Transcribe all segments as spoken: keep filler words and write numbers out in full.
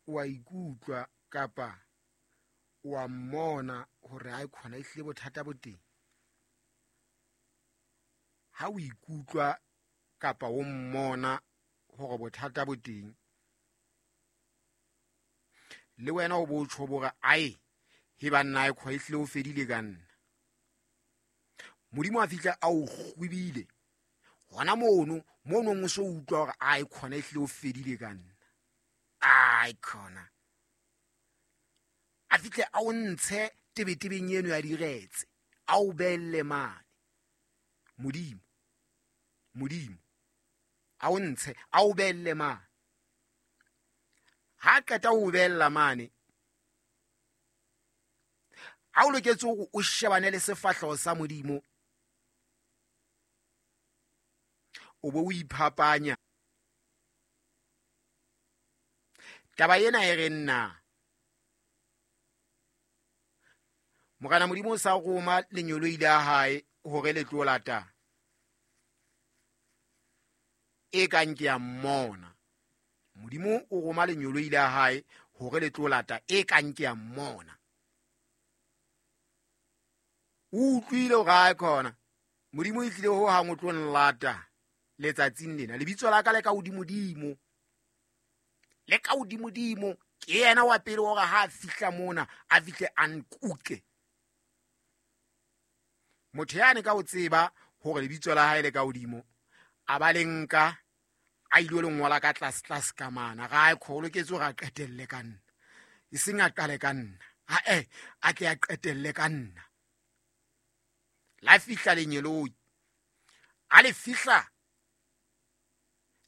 O a ikutlwa kapa o a mmona hore ha e khona ehlile bothata bo teng. Ha o ikutlwa kapa o mmona hore bothata bo teng, le wena o bo tjho bore ae he banna e khwa ehlile o fedile ka nna. Modimo a fihla a o kgwebile hona mono mono o so utlwa hore ae khona ehlile o fedile ka nna. Ai khona a fihle a o ntshe tebetebeng eno ya diretse, a o belle mane. Modimo Modimo a o ntshe a o belle mane. Ha qeta ho bella mane, a o loketse hore o shebane le sefahleho sa Modimo, o bo o iphapanya. Taba ena e re nna Morena Modimo o sa roma lenyoloi la hae hore le tlo lata e kang ke a mmona. Modimo o roma lenyoloi la hae hore le tlo lata e kang ke a mmona. O utlwile hore ha khona Modimo e tlile ho hang o tlo nlata letsatsing lena. Lebitso la ka le ka hodimodimo, le ka hodimodimo. Ke yena wa pele hore ha a fihla mona a fihle a nkuke. Motho yane ka o tseba hore lebitso la hae le ka hodimo, a ba le nka a ile le ngola ka tlase tlase ka mana. Ga e kholo ke tso ra qetelle ka nna, e seng a qale ka nna, ha e a tle a qetelle ka nna. La fihla lenyeloi, a le fihla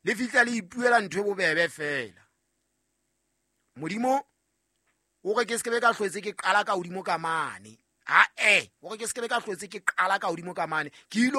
le fihla le ipuela ntho e bobebe fela. Modimo o re ke se ke be ka hlwetse ke qala ka hodimo ka mane. Ha e o re ke se ke be ka hlwetse ke qala ka hodimo ka mane, ke ile